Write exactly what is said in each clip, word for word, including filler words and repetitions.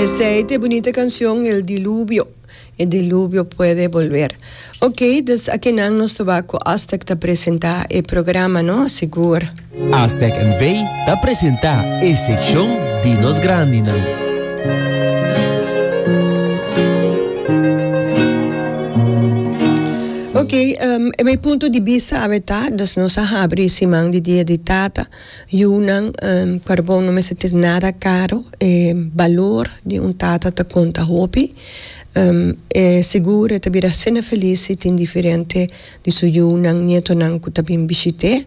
Esey ta bunita cancion, El Diluvio. El diluvio puede volver. Ok, dus aki nan nos ta cu Aztec ta presenta e programa, no? Sigur. Aztec N V ta presenta e seccion di nos grandinan. Ok, um, e mijn punto di bista ta, dus nos a habri siman di Dia di Tata, yunan, um, carbon no mester nada caro, e balor di un tata ta conta hopi. Um, e sigur e ta bira asina feliz si tin diferente di su yunan, nietonan cu ta bin bishit'e.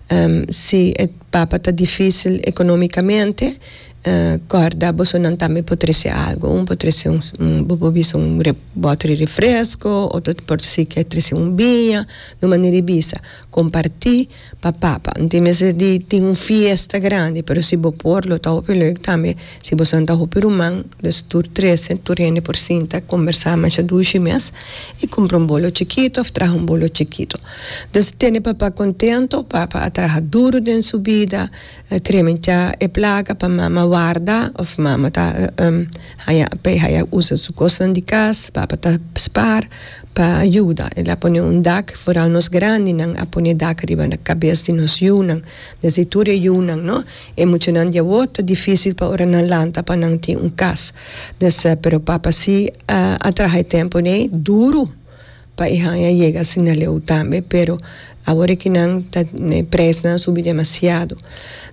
Um, si e papa ta dificil economicamente, uh, corda bosonan tambe por trece algo. Un por trece un, un, bo por bisa un re, boter di refresco, otro por si kier trece un biña, na manera di bisa. Comparti pa papa. No tin mester di tin un fiesta grandi, pero si bo por, lo ta hopi leuk tambe. Si bo ta hopi ruman, dus tur trece, tur hende por sinta, conversa masha dushi mes, y cumpra un bolo chikito, of traha un bolo chikito. Dus tene papa contento. Papa a traha duro den su bida, kremencha e placa pa mama warda, of mama ta um, haya, pe haya usa su cosnan di cas, papa ta spaar pa yuda. El a pone un dak, vooral nos grandinan a pone dak riba na cabes di nos yunan, desde tur e yunan, no? E muchanan di awor ta dificil pa ora nan lanta pa nan tin un cas. Dus, uh, pero papa si uh, a traha e tempo ne duro pa e haya yega asina leu tambe, pero awor cu nan ta ne prijsnan subi demasiado.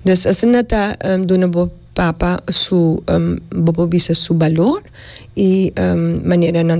Dus asina ta um, duna bo papa su um, bo por bisa su balor y um, manera nan